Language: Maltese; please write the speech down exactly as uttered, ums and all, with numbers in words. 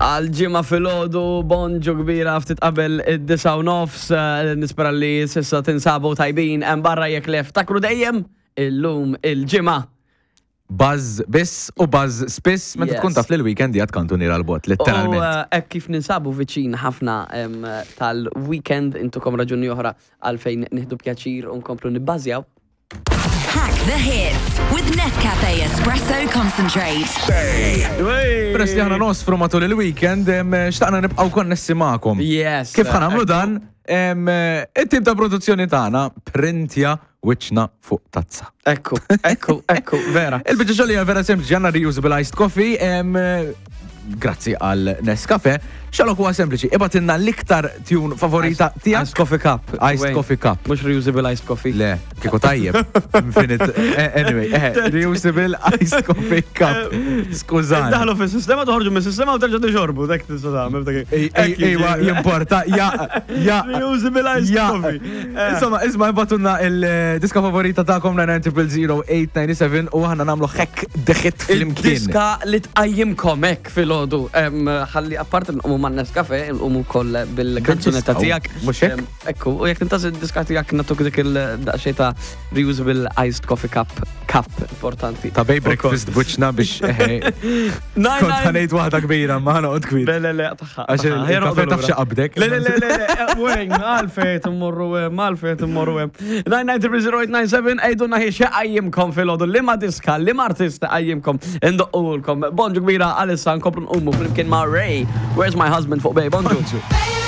Għal ġimgħa filgħodu, bonġu kbira ftit qabel id-disgħa u nofs, eh, nispera li s'issa tinsabu tajbin hemm barra. Jekk le, ftakru dejjem illum il-ġimgħa. Buzz biss u buzz spiss meta Yes. tkun taf li l-weekend jgħat kantuniera 'l bogħod, U letteralment. eh, hekk kif ninsabu viċin ħafna em, tal-weekend, intukom raġuni oħra għalfejn nieħdu pjaċir u nkomplu nibbażjaw. Hack the hits with Nescafe Espresso Concentrate. Peress li aħna nosfru matul il-weekend, em, xtaqna nibqgħu konnessi magħkom. Yes. Kif ħa nagħmlu dan? Em, it-tim ta' produzzjoni tagħna printja wiċċna fuq tazza. Ekku, ekku, ekku, vera. Il-biċċa xogħol hija vera sempliċi, għandna reusable iced coffee, em, grazzi għal Nescafe. Xalok huwa sempliċi, ibgħatilna l-iktar tune favorita tiegħek. Iced coffee cup. Iced Wayne. coffee cup. Mhux reusable iced coffee. Le, kieku tajjeb. Infinite. Eh, Anyway, eh, reusable iced coffee cup. Skużani. Daħlu fis-sistema, toħorġu mis-sistema u terġa' tixorbu, dak tista' tagħmel dak. Ej, ej, Ejwa, jimporta, ja, ja. Reusable iced Ja. coffee. Insomma, isma' ibgħatulna il-diska favorita tagħkom nine nine zero zero eight nine seven u aħna nagħmlu hack the hit flimkien. Diska li tqajjimkom hekk filgħodu. Ħalli apart nqumu man Nescafe, nqumu wkoll bil-kanzunetta Bil-diska, tiegħek. mhux hekk? Em, Ekku, u jekk tintaż id-diska tiegħek nagħtuk dik il-daqsxejn ta' reusable iced coffee cup cup importanti. Ta' bay breakfast buċna biex eħe. Kont ħa ngħid waħda kbira, ma ħa noqgħod kbir. Le, le, le, taħħa. Għax il-kafe taf xi qabdek. Le, le, le, le, le, Wayne, għalfejn immorru hemm, għalfejn immorru hemm. nine nine zero zero eight nine seven, għidulna hi x'qajjimkom filgħodu, liema diska, liema artista qajjimkom, indoqqulkom. Bonġu kbira għalissa nkomplu nqumu flimkien ma' Ray. Where's My Husband fuq Bay, bonġu. Baby.